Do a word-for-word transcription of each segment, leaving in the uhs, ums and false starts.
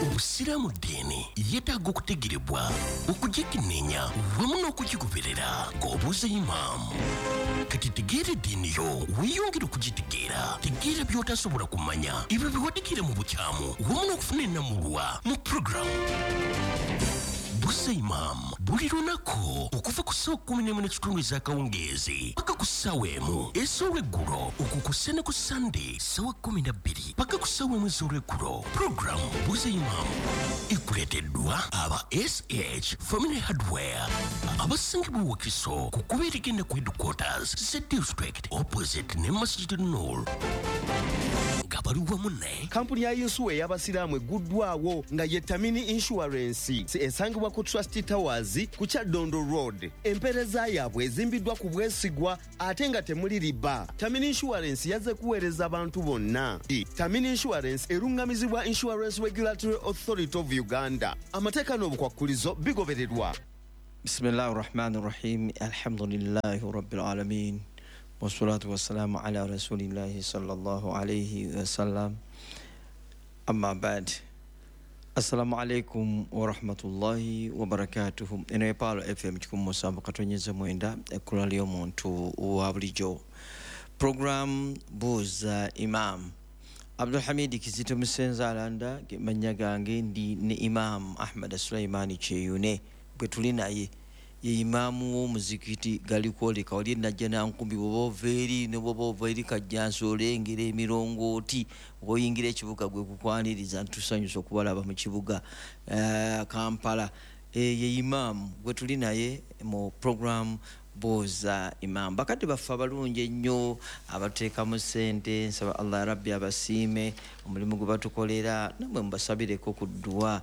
Obusiraamu ddiini yeetaaga okutegerebwa, okugikenneenya wamu n'okugigoberera ng'obuuza imaamu. Kati tegeera eddiini yo, weeyongere okugitegeera. Tegeera by'otasobola kumanya, ebyo biwadikire mu bukyamu wamu n'okufuna ennamulwa mu puroguramu Buuza Imaamu buli lunaku okuva ku ssaawa kkumi n'emu n'ekitundu ez'akawungeezi paka ku ssaawa emu ez'olweggulo, okwo kw'ossa ne ku Sande ssaawa kkumi na bbiri paka ku ssaawa emu ez'olweggulo. Puroguramu Buuza Imaamu ekuleeteddwa aba S H Family Hardware abasangibwa Wakiso ku kkubo erigenda ku headquarters za district, opposite ne Masjid Nur, nga bali wamu ne Kampuni ya yinsuwa ey'abasiraamu egguddwawo nga ye Tamini Insurance, esangibwa ku Trust Towers ku Kyaddondo Road. Empeereza yaabwe ezimbiddwa ku bwesigwa ate nga temuli riba. Tamini Insurance yazze kuweereza abantu bonna. Tamini Insurance eruŋŋamizibwa Insurance Regulatory Authority of Uganda. Amateeka n'obukwakkulizo bigobererwa. بسم الله الرحمن الرحيم، الحمد لله رب العالمين، والصلاة والسلام على رسول الله صلى الله عليه وسلم، أما بعد، السلام عليكم ورحمة الله وبركاته. Eno ye Pearl F M kikumi musanvu katonyeza mwenda, ekkula ly'omuntu wa bulijjo. Program Buuza Imam. Abdulhamidi Kizito Musenza Alanda mannya gange. Ndi ne Imam Ahmad Sulaimani Kyeyune bwe tuli naye, ye imaamu w'omuzikiti Galikwoleka wali enajja nankumbi. Bwoba ova eri ne bwoba ova eri Kajjansi, olengera emirongooti ng'oyingira ekibuga gwe kukwaniriza. Ntusanyusa okubalaba mu kibuga eh, Kampala. Eh, ye imaamu gwe tuli naye mu program Buuza Imaamu. Bakadde baffe abalungi ennyo abateekamu ssente, nsaba Allah ya Rabbi abasiime omulimu gwe batukolera, namwe mubasabireko ku dduwa.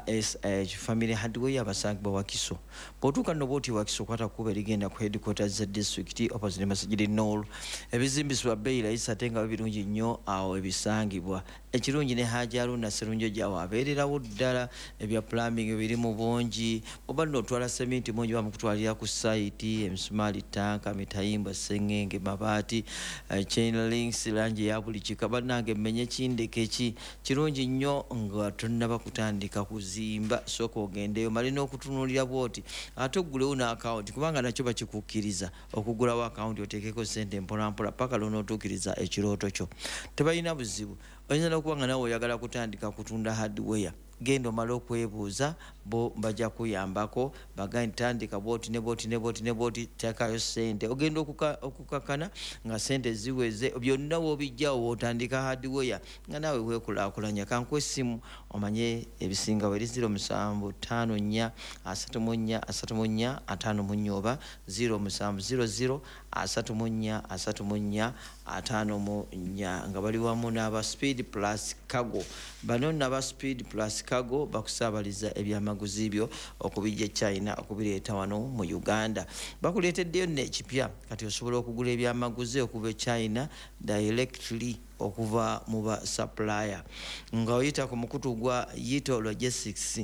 S H Family Hardware abasangibwa Wakiso. Bw'otuuka nno bwoti Wakiso, kwata kkubo erigenda ku headquarters za district, opposite Masjid Nur. Ebizimbisibwa bbeeyi layisi ate nga birungi nnyo awo ebisangibwa. Ekirungi ne Haji Aruna Serunjo abeererawo ddala. Ebya plumbing biri mu bungi, oba nno otwala seminti mungi, bamukutwalira ku site, emisumaali, tanka, mitayimbwa, sengenge, mabaati, eh, chain links, langi eya buli kika. Bannange, mmenye kindeke ki kirungi nnyo nga tonnaba kutandika kuzimba, sooka ogendeyo male n'okutunuulira bwoti, ate oggulewo n'akawunti, kubanga nakyo bakikukkiriza okugulawo akawunti oteekeko sente mpolampola paka lwonootuukiriza ekirooto kyo. Tebalina buzibu. Oyinza n'okuba nga nawe oyagala kutandika kutunda hardware, genda omale okwebuuza, bo bajja kuyambako bagaye nti tandika bwoti ne bwoti ne bwoti ne bwoti, teekayo sente. Ogenda okukakana nga sente ziweze, byonna woobijjawo wootandika hardware nga naawe weekulaakulanya. Kankuwa essimu omanye ebisingawo, eri zero musanvu ttaano nnya asatu mu nnya asatu mu nnya ataano mu nnya oba zero musanvu zero zero asatu mu nnya asatu mu nnya ataano mu nnya, nga bali wamu n'aba Speed Plus Cargo. Bano naba Speed Plus Cargo bakusaabaliza ebyamaguzi byo okubijja China okubireeta wano mu Uganda. Bakuleeteddeyo nno ekipya, kati osobola okugula ebyamaguzi okuva e China directly okuva mu ba supplier nga oyita ku mukutu gwa Yito Logistics.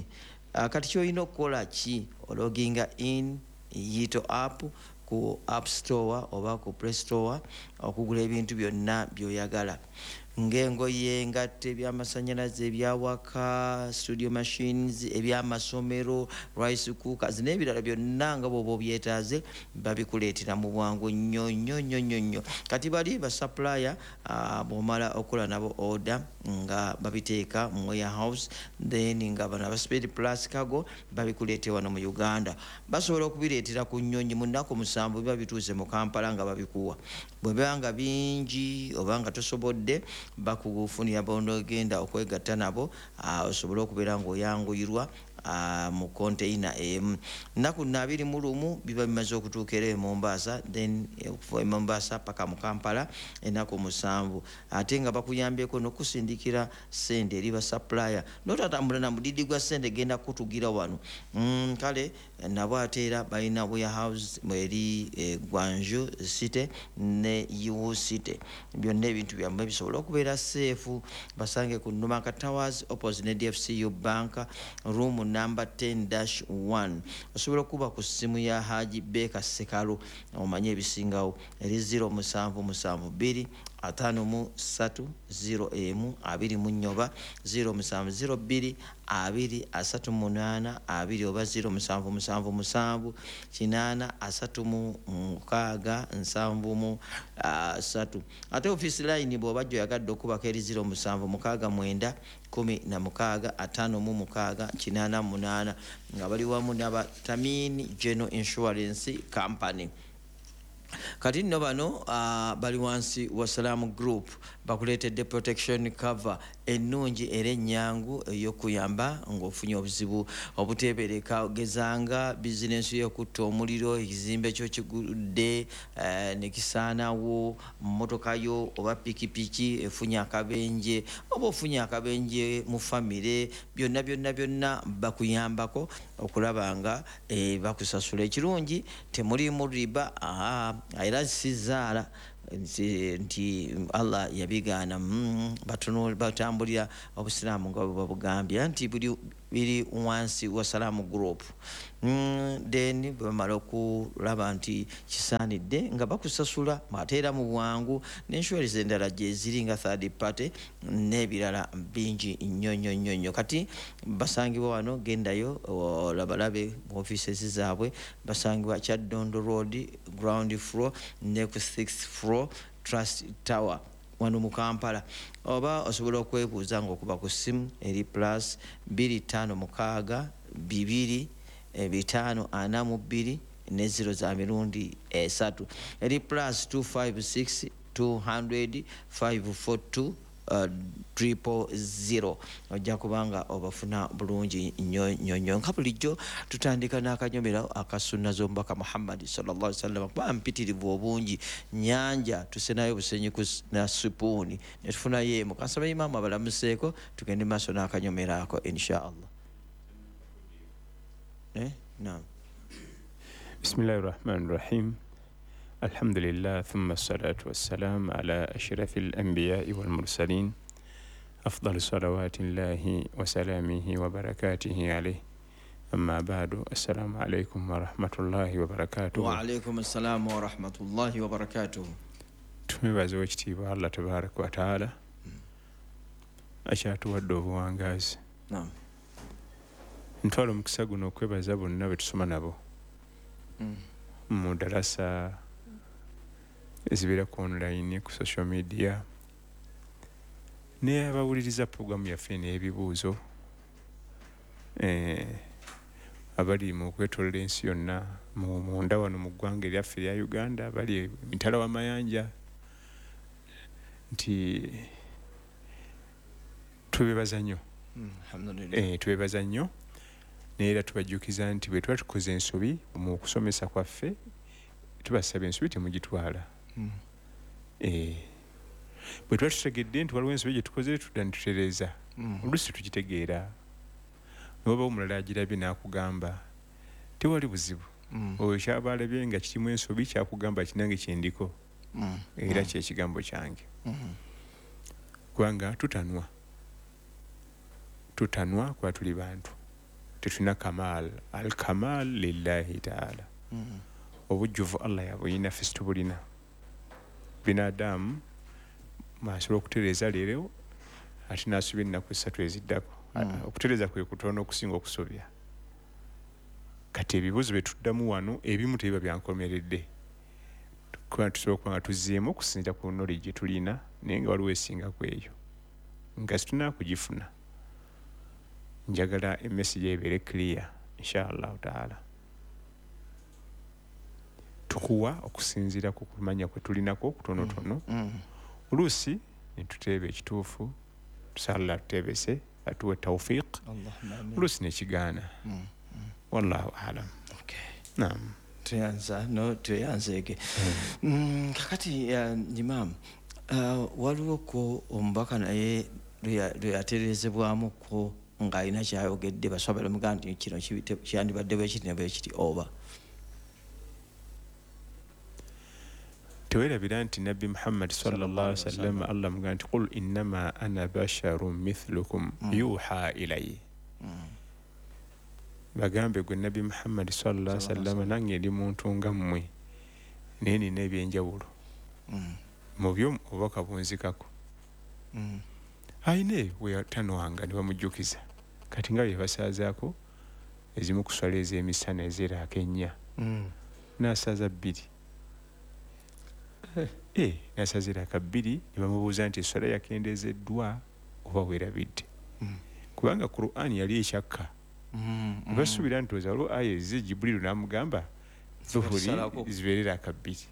Kati kyolina okukola ki? Ologinga in Yito app ku App Store oba ku Play Store okugula ebintu byonna by'oyagala, ng'engoye, engatto, ebyamasanyalaze, ebyawaka, studio machines, ebyamasomero, rice cookers n'ebirala byonna nga bw'oba obyetaaze, babikuleetera mu bwangu nnyo nnyo nnyo nnyo nnyo. Kati bali ba supplier, bw'omala okukola nabo order nga babiteeka mu warehouse, then nga bano aba Speed Plus Cargo babikuleetera wano mu Uganda. Basobola okubireetera ku nnyonyi, mu nnaku musanvu biba bituuse mu Kampala nga babikuwa. Bwe biba nga bingi oba nga tosobodde, bakufunira bonogenda okwegatta nabo osobole okubeera ng'oyanguyirwa mu konteina emu. Nnaku nno abiri mu lumu biba bimaze okutuuka era e Mombasa, then okuva e Mombasa paka mu Kampala ennaku musanvu, ate nga bakuyambyeko n'okusindikira sente eri ba supplier, notatambula na mudidi gwa sente genda kutugira wano. mm, kale nabo ate era balina warehouse eri e Guangzhou City ne Yiwu City. Byonna ebintu byammwe bisobola okubeera safe. Basange ku Numaka Towers, opposite ne D F C U Bank, room number ten dash one. Osobola okuba ku ssimu ya Haji Beka Sekalu omanye ebisingawo, eri zero musanvu musanvu bbiri ataano mu ssatu zero emu abiri mu nnyoba zero musanvu zero bbiri abiri asatu munaana abiri oba zero musanvu musanvu musanvu kinaana asatu mu mukaaga nsanvu mu ssatu. Ate office line bw'oba gy'oyagadde okubako eri zero musanvu mukaaga mwenda kumi na mukaaga ataano mu mukaaga kinaana munaana nga bali wamu n'aba Tamini General Insurance Company. Kati nno bano uh, bali wansi wa Salaam Group bakuleetedde protection cover ennungi era ennyangu ey'okuyamba ng'ofunye obuzibu obuteebereka, ogezanga bizinensi y'okutta omuliro, ekizimbe kyo kigudde uh, ne kisaanawo, mmotoka yo oba pikipiki efunye akabenje oba ofunye akabenje mu famire, byonna byonna byonna bakuyambako okulaba nga eh, bakusasula. Ekirungi temulimu riba, aha, era sizaala nti Allah yabigaana. Mm, batambulira obusiraamu nga bwe babugambye nti buli biri wansi wa Salaam Group. Mm, then bwe bamala okulaba nti kisaanidde nga bakusasula ate era mu bwangu, n'insurance endala gye ziri nga third party n'ebirala bingi nnyo nnyo nnyo nnyo. Kati basangibwa wano, gendayo olabalabe mu offices zaabwe, basangibwa Kyaddondo Road ground floor ne ku sixth floor Trust Tower wano mu Kampala, oba osobola okwebuuza ng'okuba ku ssimu eri plus bbiri ttaano mukaaga bibiri bitaano ana mu bbiri ne zero za mirundi esatu, eri plus two five six two hundred five four two Uh, triple zero. Ojja kubanga obafuna bulungi nnyo nnyo nnyo. Nka bulijjo tutandika n'akanyomero akasunna z'omubaka Muhammad sallallahu alaihi wasallam, kuba mpitirivu obungi nnyanja tusenayo busenyi ku na supuuni ne tufunayo emu. Kansaba imaamu abalamuseeko tugende maaso n'akanyomero ako insha Allah. Eh, naam. Bismillahirrahmanirrahim. Alhamdulillah, thumma salatu wassalam ala ashrafil anbiya'i wal mursalin, afdal salawatillahi wa salamihi wa barakatihi alayhi, amma ba'du. Assalamu alaykum wa rahmatullahi wa barakatuh. Wa alaykum assalam wa rahmatullahi wa barakatuh. Tumwebaze owekitiibwa Allah tabaraka wa taala akyatuwadde obuwangaazi. Naam. Ntwala omukisa guno okwebaza bonna be tusoma nabo mu darasa ezibeera ku online, ku social media, naye abawuliriza puroguramu yaffe n'ebibuuzo, eh, abali mu kwetoloola ensi yonna, mu munda wano mu ggwanga eryaffe erya Uganda, abali emitala w'amayanja, nti tubeebaza nnyo. Alhamdulillah. Eh, tubeebaza nnyo, naye era tubajjukiza nti bwe tuba tukoze ensobi mu kusomesa kwaffe, tubasaba ensobi temugitwala. Mm. Eh, bwe tuba tutegedde nti waliwo ensobi gye tukoze, tudda ne tutereeza. Mm. Oluusi tugitegeera, n'oba omulala agirabye n'akugamba tewali buzibu. Mm. Oyo kyaba alabye nga kirimu ensobi kyakugamba kinange kyendiko. Mm. Era Mm. kyekigambo kyange. Mm. Kubanga tutanwa, tutanwa kuba tuli bantu, tetulina kamal. Al kamal lillahi taala. Mm. Obujjuvu Allah yabuyina, ffe situbulina. Binadamu asobola okutereeza leero ate n'asobya ennaku essatu eziddako. Mm. Okutereeza kwe kutono okusinga okusobya. Kati ebibuuzo bye tuddamu wano ebimu tebiba byankomeredde, kuba tusobola okuba nga tuzzeemu okusinziira ku knowledge gye tulina, naye nga waliwo esinga ku eyo nga situnaa kugifuna. Njagala emessage ebeere clear insha Allahu taala. Tukuwa okusinziira ku kumanya kwe tulinako kutonotono. Mm. Oluusi ne tuteeba ekituufu, tusala tuteebese atuwe tawfiq, Allahumma amin. oluusi nekigaana. Mm. Wallahu alam. Okay. Naam. Tweyanza no tweyanzeege. Mm, kakati uh, imam, uh, waliwo ko omubaka naye lwe yatereezebwamuko ng'alina kyayogedde, baswaba bamugamba nti kino kyandibadde bwe kiti ne bwe kiti oba Tewerabira nti Nabbi Muhammad sallallahu alaihi wasallam Allah mugamba nti qul innama ana basharun mithlukum Mm. yuha ilayya. Mm. Bagambe gwe Nabbi Muhammad sallallahu alaihi wasallam, nange ndi muntu nga mmwe, naye nina ebyenjawulo. Mm. Mu byo obubaka bunzikako. Mm. Ayine we yatanwanga ne bamujjukiza. Kati nga bye basaazaako ezimu ku swala ez'emisana ez'eraaka ennya. Mm. N'asaaza bbiri. Eh, n'asaaza eraaka bbiri ne bamubuuza nti esswala yakendeezeddwa oba weerabidde. Mm. Kubanga Qur'an yali ekyakka. Mm. Ne basuubira nti oza waliwo aya ezze Jibuliru n'amugamba zuhuri zibeere eraaka bbiri.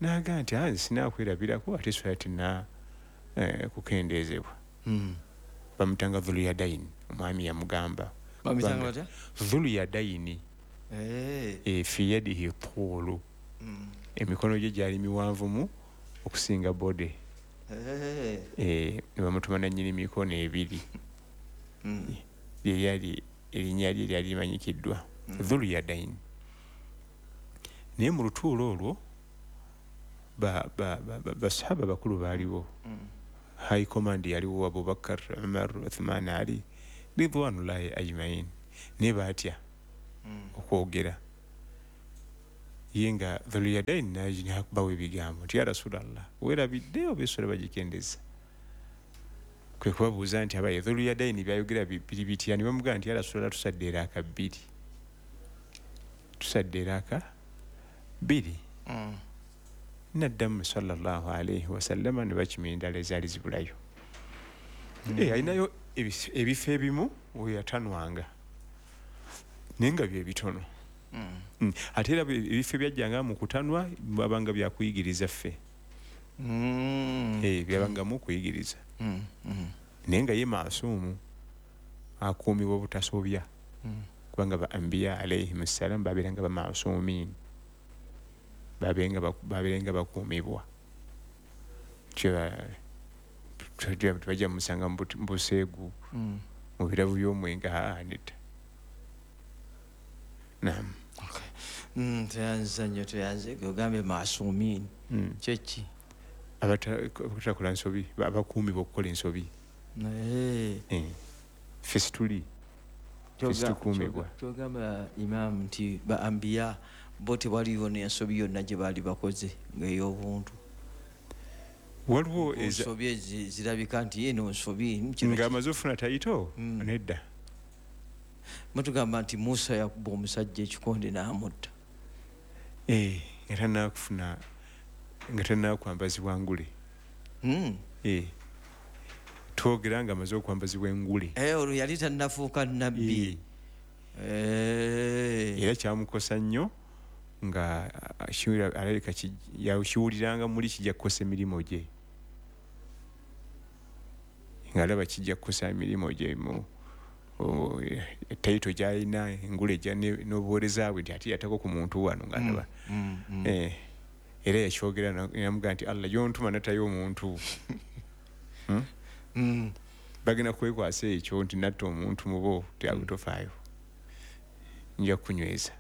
N'agamba nti ah, sinakwerabirako ate esswala tenna eh, kukendeezebwa. Mm. Bamutanga Dhuluyadaini, omwami yamugamba. Bamutanga batya? Dhuluyadaini. Eh. E, fi yadihi tuulu. Mm. Emikono gye gyali miwanvumu okusinga bode. Eh. Eh, ne bamutuma nannyini mikono ebiri. Mm. Lye lyali erinnya lye lyali limanyikiddwa. Mm. Dhuluyadaini. Naye mu lutuulo olwo ba ba ba basahaba bakulu baaliwo. Mm. High command yaliwo Abubakar, Umar, Uthman, Ali ridwanullahi ajmain. Ne baatya mm. okwogera. Ye nga Dhuluyadaini n'akubawo ebigambo nti ya Rasulallah, weerabidde oba esswala bagikendeza? Kwe kubabuuza nti abaye Dhuluyadaini byayogera biri bitya? Ne bamugamba nti ya Rasulallah, tusadde eraaka bbiri. Tusadde eraaka bbiri. Mm. Naddamu sallallahu alaihi wasallama ne bakima endala ezaali zibulayo. Mm. Eh, alinayo ebifo ebimu we yatanwanga naye nga bye bitono. Mm. Mm. Ate era ebifo ebyajjanga mu kutanwa byabanga byakuyigiriza ffe. Mm. Eh, byabangamu okuyigiriza. Mm. Mm. Naye nga ye maasumu akuumibwa obutasobya. Mm. Kubanga ba anbiya alaihim ssalam babeeranga bamaasumiin. Babeerenga babeerenga bakuumibwa. Tebajja musanga mu buseegu, Mm. mu birabo by'omwenge, aa nedda. Naam. Okay. Mm, tweyanza nnyo, tweyanze. Ogambye maasumiin. Mm. Kyeki? Abatakola nsobi, abakuumibwa okukola ensobi. Eh. Eh. Ffe situli. Ffe situkuumibwa. Kyogamba Imam nti ba anbiya bo tewaliwo n'ensobi yonna gye baali bakoze ng'ey'obuntu. Waliwo ensobi zirabika nti eno nsobi ng'amaze ofuna tayito mm. nedda. Mutugamba nti Musa yakuba omusajja ekikonde n'amutta. Eh, nga tannakufuna, nga tannakwambazibwa ngule. Mm. Eh. Twogera ng'amaze okwambazibwa engule. Eh, olwo yali tannafuuka nnabbi. Eh. Eh. Era kyamukosa nnyo nga alabika kiwuliranga muli kijja kukosa emirimu gye. Ng'alaba kijja kukosa emirimu gye mu tayito gy'alina, engule n'obuweereza bwe nti ate yatako ku muntu wano ng'alaba. Mm, mm. Eh, era yakyogera n'amugamba nti Allah gy'ontuma nattayo omuntu. Hmm? Mm. Bagenda kwekwasa ekyo nti natta omuntu mu bo tofaayo. Nja kunyweza.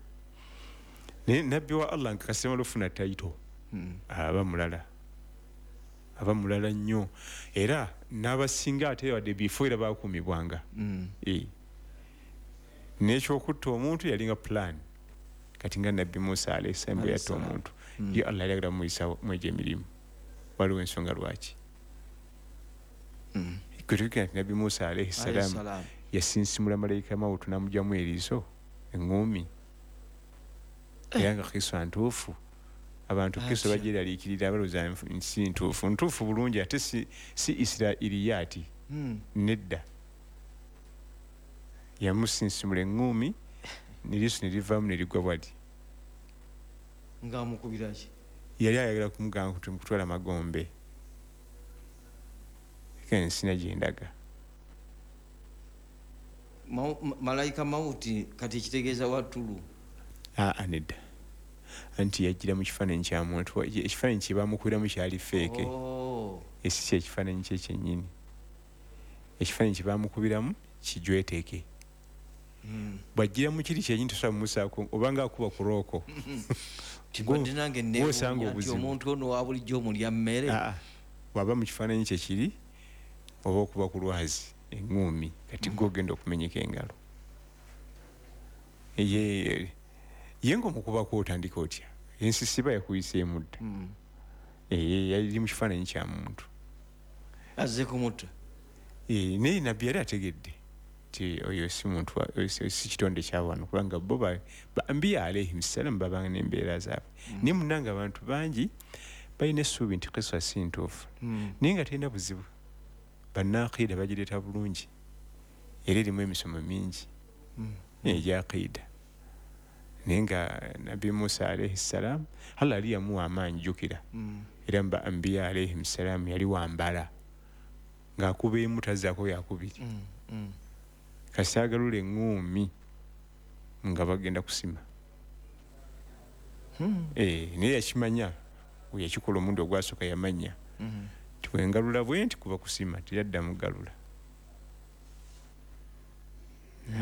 Naye nabbi wa Allah nga kasema lufuna tayito mm. aba mulala. Aba mulala nnyo. Era n'abasinga ate wadde bifo era baakuumibwanga. Mm. Eh. N'ekyokutta omuntu yalinga plan. Kati nga nabbi Musa alayhi salam bwe yatta omuntu. Mm. Ye Allah yali amuyisa mwegyo emirimu. Waliwo ensonga lwaki. Mm. Kwe tujjukira nti nabbi Musa alayhi salam yasinsimula malayika mawutu n'amugyamu eriiso eŋŋuumi. Era nga kiswa ntuufu. Abantu kiso bagyeraliikirira balowooza nsi ntuufu. Ntuufu bulungi ate si, si Israiriyaati. Mm. Nedda. Yamusinsimula eŋŋuumi n'eriiso ne livaamu ne ligwa bwali. Ng'amukubira ki? Yali ayagala kumugamba nti mukutwala magombe. Ensina gye ndaga. Ma, malayika mawuti kati ekitegeeza wattulu. Aa nedda. Anti yajjira mu kifaananyi kya muntu. Ekifaananyi kye baamukubiramu kyali feeke. Oh. Esi kye ekifaananyi kye kyennyini. Ekifaananyi kye baamukubiramu kijweteeke. Mm. Bw'ajjira mu kiri kyennyini tosobola mumusaako oba ng'akuba ku rooko. Kibadde nange neewuunya nti omuntu ono wa bulijjo omulya mmere. Aa, bw'aba mu kifaananyi kye kiri oba okuba ku lwazi eŋŋuumi kati gwe ogenda okumenyeka engalo. Ye ye ng'omukubako otandika otya? Ensisiba yakuyiseemu dda. Mm. Eh, yali mu kifaananyi kya muntu azze kumutta. Eh, naye nabbi yali ategedde nti oyo si muntu, si kitonde kya wano, kubanga bo ba ambiya alaihim salam babanga n'embeera zaabwe. Naye munnange abantu bangi balina essuubi nti kiswa si ntuufu, naye nga terina buzibu. Bannaaqiida bagireeta bulungi, era erimu emisomo mingi egya aqiida. Naye nga Nabbi Musa alaihi salam Allah yali yamuwa amaanyi, jjukira, era mu ba ambiya alaihim salam yali wambala ng'akuba emu tazzaako yakubiri, kasita agalula eŋŋuumi nga bagenda kusima. Naye yakimanya, yakikola omulundi ogwasooka yamanya nti bwe ngalula bwe nti kuba kusima, teyaddamu galula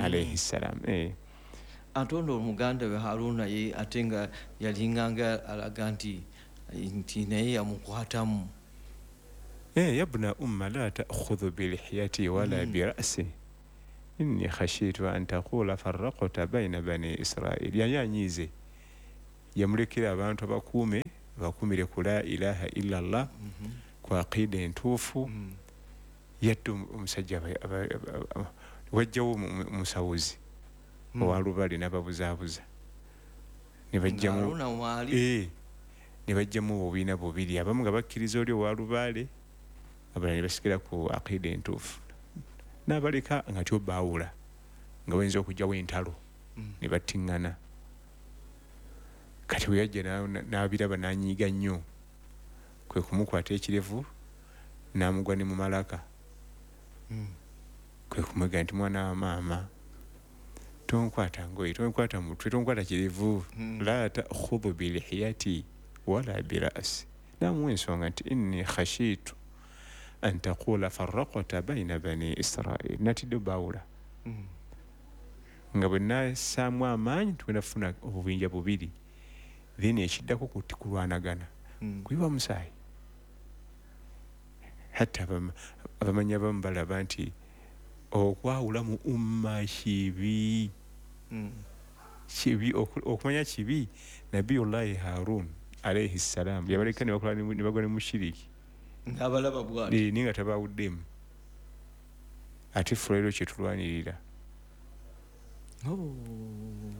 alaihi salam. Ate ono omuganda we Haruna ye ate nga yalinganga alaga nti nti naye yamukwatamu. Yabna umma la ta'khudhu bilihiyati wala bira'si inni khashitu an taqula farraqta bayna bani Israil. Yali anyiize, yamulekera abantu abakuume bakuumire ku la ilaha illa Allah, ku aqiida entuufu. Yadde omusajja wajjawo omusawuzi owa Lubaale n'ababuzaabuza, ne bajjamu ne bajjamu obubiina bubiri, abamu nga bakkiriza oli owa Lubaale, abalala ne basigala ku aqiida entuufu, n'abaleka nga tyo baawula nga bayinza okugyawo entalo ne battiŋŋana. Kati bwe yajja n'abiraba n'anyiiga nnyo, kwe kumukwata ekirevu n'amugwa ne mu malaka, kwe kumwega nti mwana wa maama tonkwata ngoye, tonkwata mutwe, tonkwata kirevu, la ta'khudhu bilihiyati wala bira'si. N'amuwa ensonga nti inni khashitu an taqula farraqta bayna bani Israil, natidde baawula nga bwe nassaamu amaanyi tugenda kufuna obubinja bubiri, then ekiddako kulwanagana kuyiwa musaayi. Hatta abamanyi abamu balaba nti okwawula mu umma kibi, kibi okumanya kibi. Nabiyullahi Harun alaihi salam yabaleka ne bagwa ne mushiriki n'abalaba bw'ati, naye nga tabaawuddemu. Ate ffe olwaleero kye tulwanirira,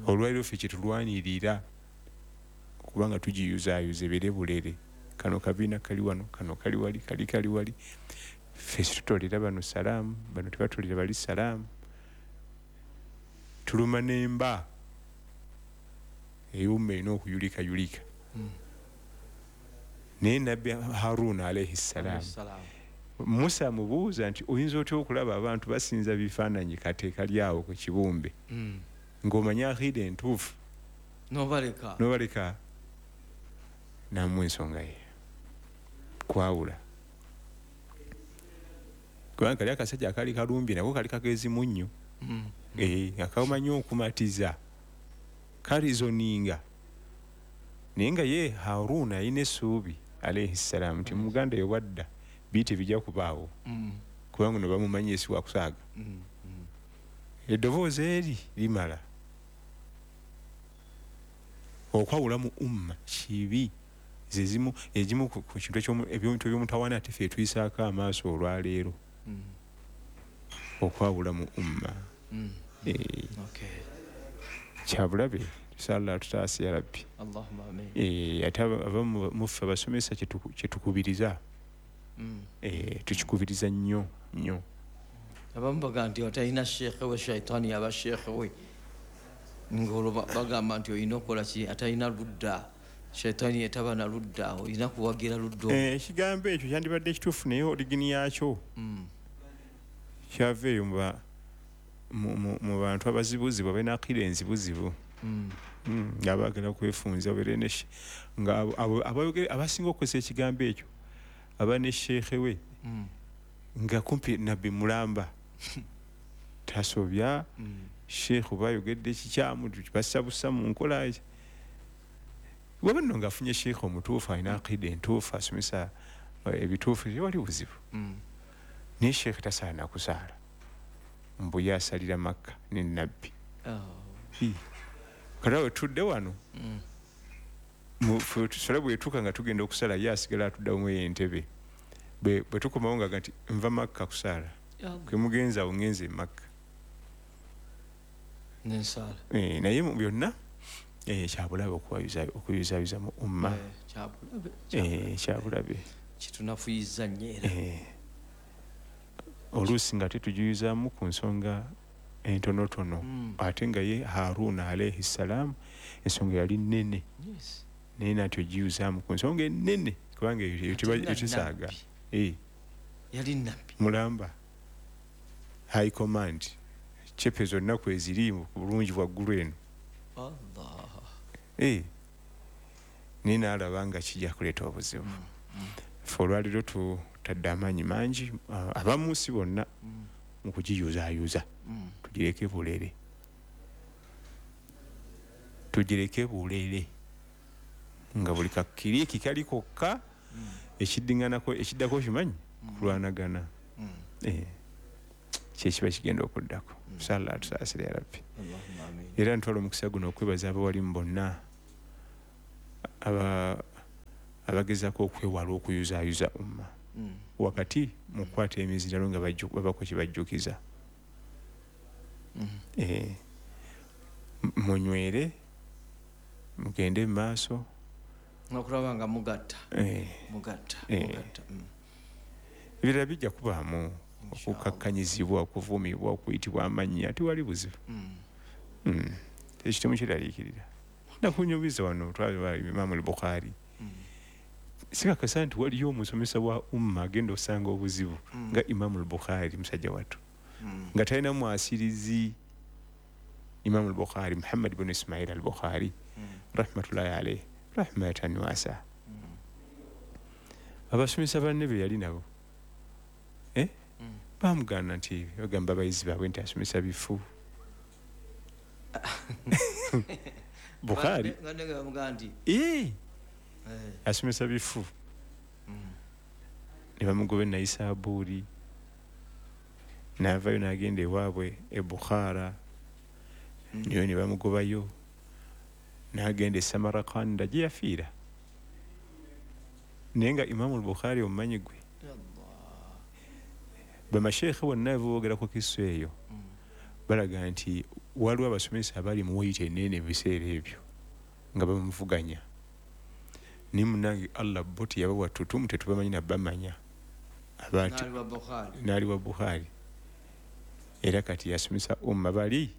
olwaleero ffe kye tulwanirira kubanga tugiyuzaayuza ebeere bulere, kano kabiina kali wano, kano kali wali, kali kali wali. Ffe situtolera bano salaamu, bano tebatolera bali salaamu. Tuluma n'emba ey'umma erina okuyulikayulika. Naye Nabbi Haruna alaihi salam, Musa amubuuza nti oyinza otya okulaba abantu basinza bifaananyi kate kali awo ku kibumbe ng'omanya aqiida entuufu n'obaleka n'obaleka. N'amuwa ensonga ye kwawula, kubanga kali akasajja akaali kalumbye nako kali kagezi munnyo, nga kamanyi okumatiza, karizoninga. Naye nga ye Haruna alina essuubi alaihi salam nti muganda ye wadda bii tebijja kubaawo, kubanga no bamumanyi esi wakusaaga. Eddoboozi eri limala. Okwawula mu umma kibi, zezimu egimu ku kintu ebintu ebyomutawaana ate ffe tuyisaako amaaso olwaleero. Okwawula mu umma kyabulabe, tusala tutaasi ya Rabbi. Ate abamu muffe abasomesa kyetukubiriza, tukikubiriza nnyo nnyo. Abamu bagamba nti atalina sheekhe we shaitaani aba sheekhe we, ng'olwo bagamba nti olina okukola ki, atalina ludda shaitaani etaba na ludda, olina kuwagira ludda. Ekigambo ekyo kyandibadde ekituufu, naye origini yakyo kyava eyo mu bantu abazibuzibu abalina aqiida enzibuzibu, nga baagala kwefunza nga abasinga okukozesa ekigambo ekyo aba ne sheekhe we nga kumpi Nabbi mulamba tasobya, sheekhe bayogedde ekikyamu basabusa mu nkola. Waba nno ng'afunye sheekhe omutuufu alina aqiida entuufu asomesa ebituufu, tewali buzibu. Naye sheekhe tasaana kusaala mbu ye asalira Makka ne Nabbi. Kati awo tudde wano Swala bwetuuka nga tugenda okusala ye asigala atuddamu entebe. Bwe tukomawo nga nti nva Makka kusaala. Kwe mugenzi awo ngenze e Makka. N'ensaala. Eh, naye mu byonna eh, kyabulabe okuyuzaayuza mu umma. Eh, kyabulabe. Kitunafuyiza nnyo era. Eh, oluusi nga tetugiyuzaamu ku nsonga entonotono. Mm. Ate nga ye Haruna alayhi salam ensonga yali nnene. Yes. Naye nati ogiyuzaamu ku nsonga ennene kubanga eyo tesaaga. Eh. Yali nnabbi. Mulamba. High command. Chepe zonna kweziri ku bulungi bwa ggulu eno. Allah. Eh. Naye n'alaba nga kijja kuleeta obuzibu. Mm. Mm. Ffe olwaleero tutadde amaanyi mangi abamu si bonna mm. mu kugiyuzaayuza. Mm. Tugireke bulere. Tugireke bulere. Nga buli kakiriki kali kokka mm. ekiddinganako ekiddako kimanyi mm. kulwanagana. Mm. Eh. Kyekiba kigenda okuddako. Mm. Inshallah tusaasire ya Rabbi. Allahumma amin. Era ntwala omukisa guno okwebaza abawalimu bonna aba abagezaako okwewala okuyuzaayuza umma. Mm. Wakati mu kukwata emizindalo nga babako kye bajjukiza. Mm. Eh, munywere mugende mu maaso okulaba nga mugatta. Eh. Mugatta. Eh. Mugatta. Mm. Ebirala bijja kubaamu okukakkanyizibwa, okuvumibwa, okuyitibwa amannya, tewali buzibu. Mm. Mm. Ekyo temukiraliikirira. Nakunyumiza wano twalaba Imaamu al-Bukhari. Mm. Sikakasa nti waliyo omusomesa wa umma agenda osanga obuzibu mm. nga Imaamu al-Bukhari musajja wattu. Mm. Nga talina mwasirizi. Imaamu al-Bukhari Muhammad ibn Ismail al-Bukhari mm. rahmatullahi alayhi rahmatan wasa. Mm. Abasomesa banne be yali nabo eh? Mm. Bamugaana nti bagamba abayizi baabwe nti asomesa bifu. Bukhari eh. asomesa bifu. Mm. Ne bamugoba e Naisaburi n'avaayo n'agenda ewaabwe e Bukhara. Mm. Nayo ne bamugobayo n'agenda e Samarkanda gye yafiira. Naye nga Imaamu al-Bukhari omumanyi gwe. Bamasheekhe bonna boogera ku kiso eyo mm. balaga nti waliwo abasomesa abali mu weyita ennene mu biseera ebyo nga bamuvuganya. Naye munnange Allah bo teyabawa ttutumu, tetubamanyi na bamanya. N'ali wa Bukhari. Era kati yasomesa umma bali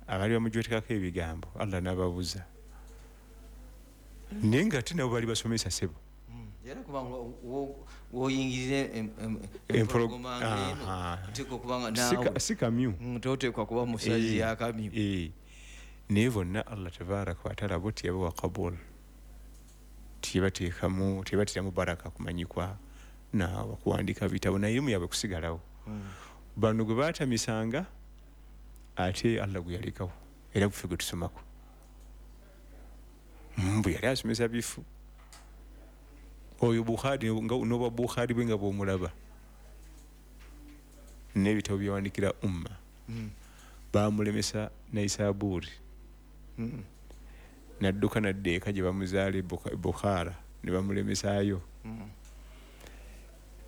abali bamujwetekako ebigambo Allah n'ababuza. Naye nga ate nabo bali basomesa ssebo. Era kubanga woyingirira empologoma ng'eno oteekwa okuba nga naawe si kamyu toteekwa kuba musazi y'akamyu. Naye bonna Allah tabaraka wa taala bo teyabawa kabul, teyabateekamu teyabateramu baraka kumanyikwa na kuwandiika bitabo na erimu yaabwe kusigalawo. Bano gwe baatamisanga ate Allah gwe yalekawo era guffe gwe tusomako. Mbu yali asomesa bifu. Oyo Bukhari n'obwa Bukhari bwe nga bw'omulaba n'ebitabo byawandiikira umma. Mm. Baamulemesa Naisaburi. Mm. N'adduka n'adda eka gye bamuzaala e Bukhara ne bamulemesaayo. Mm.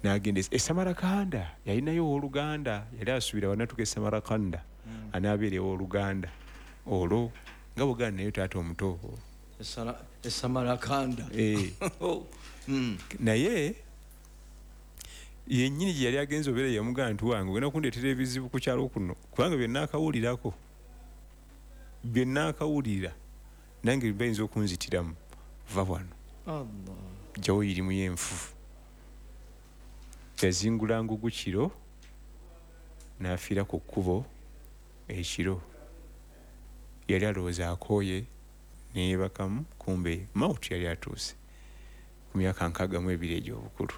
N'agenda e Samarkanda, yalinayo owooluganda, yali asuubira wanaatuuka e Samarkanda mm. anaabeera ew'oluganda olwo nga bw'ogaana naye taata omuto e Samarkanda. Eh. Mm. Naye yennyini gye yali agenze obeera yamugamba nti wange ogenda kundeetera ebizibu ku kyalo kuno kubanga bye nnaakawulirako bye nnaakawulira nange bayinza okunzitiramu va wano. Allah. Jjawo irimu y'enfufu. Yazingula ngugu kiro n'afiira ku kkubo ekiro. Yali alowooza akooye neyeebakamu kumbe mauti yali atuuse ku myaka nkaaga mu ebiri egy'obukulu.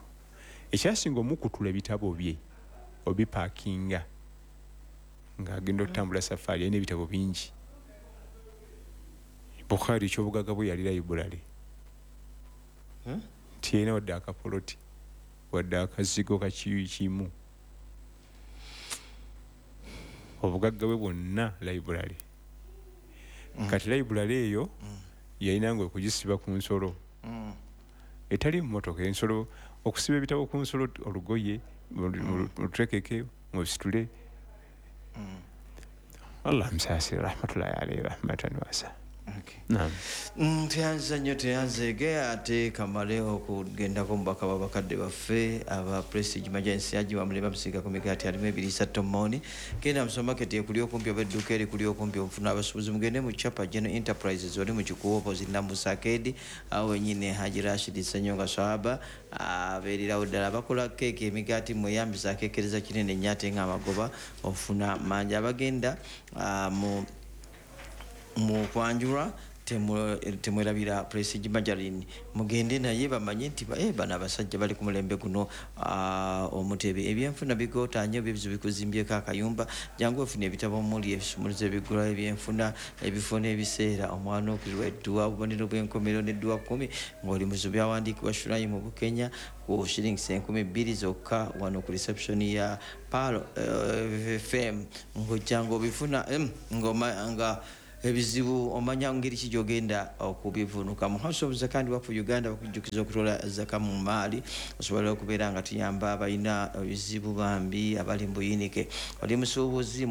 Ekyasinga omukutula ebitabo bye obipaakinga ng'agenda okutambula safaari alina ebitabo bingi. Bukhari eky'obugagga bwe yali library. Tiyalina wadde akapoloti wadde akazigo kakiyu kimu. Obugagga bwe bwonna library. Mm. Kati library eyo mm. Yalinanga okugisiba ku nsolo Mm. etali mmotoka, ensolo, okusiba ebitabo ku nsolo, olugoye lutekeke musitule. Mm. Allah musaasire, rahmatullahi alaihi rahmatan wasa. Okay. Naam. Mm, tweyanza nnyo, tweyanzeege. Ate kamale okugendako mubaka w'abakadde baffe aba Prestige Magensi aji wamule bamusiiga ku migaati alimu ebiriisa tomoni. Genda mu supermarket ekuli okumpi oba edduuka erikuli okumpi ofuna abasuubuzi. Mugende mu Chapa General Enterprises oli mu Kikuubo opposite Namusakedi, awo wenyini Haji Rashid Senyonga Swahaba abeererawo ddala. Bakola keeki, emigaati, mweyambisa akeekereza kinene nnyo ate nga amagoba ofuna mangi. Abagenda ah, mu mu kwanjula temu- temwerabira Prestige Margarine, mugende naye bamanye nti ba- eh, bano abasajja bali ku mulembe guno. ah, omutebe ebyenfuna bigootanye oba ebizibu bikuzimbyeko akayumba, jangu ofuna ebitabo omuli ebisumuluzo ebigulawo ebyenfuna, ebifo n'ebiseera omwanuukirwa, edduwa, obubonero bw'enkomero n'edduwa kkumi ng'oli muzibu, byawandiikibwa Shurayi mu Bukenya ku shillings enkumi bbiri zokka wano ku reception ya Palo eh, F M. Ng'ojja ng'obifuna em, ng'oma- nga ebizibu omanya ngeri ki gyogenda okubivunuka. Mu House of Zaka and Waqf Uganda bakujjukiza okutola zaka mu maali, osobola okubeera nga tuyamba abalina ebizibu bambi abali mu buyinike. Oli musuubuzi.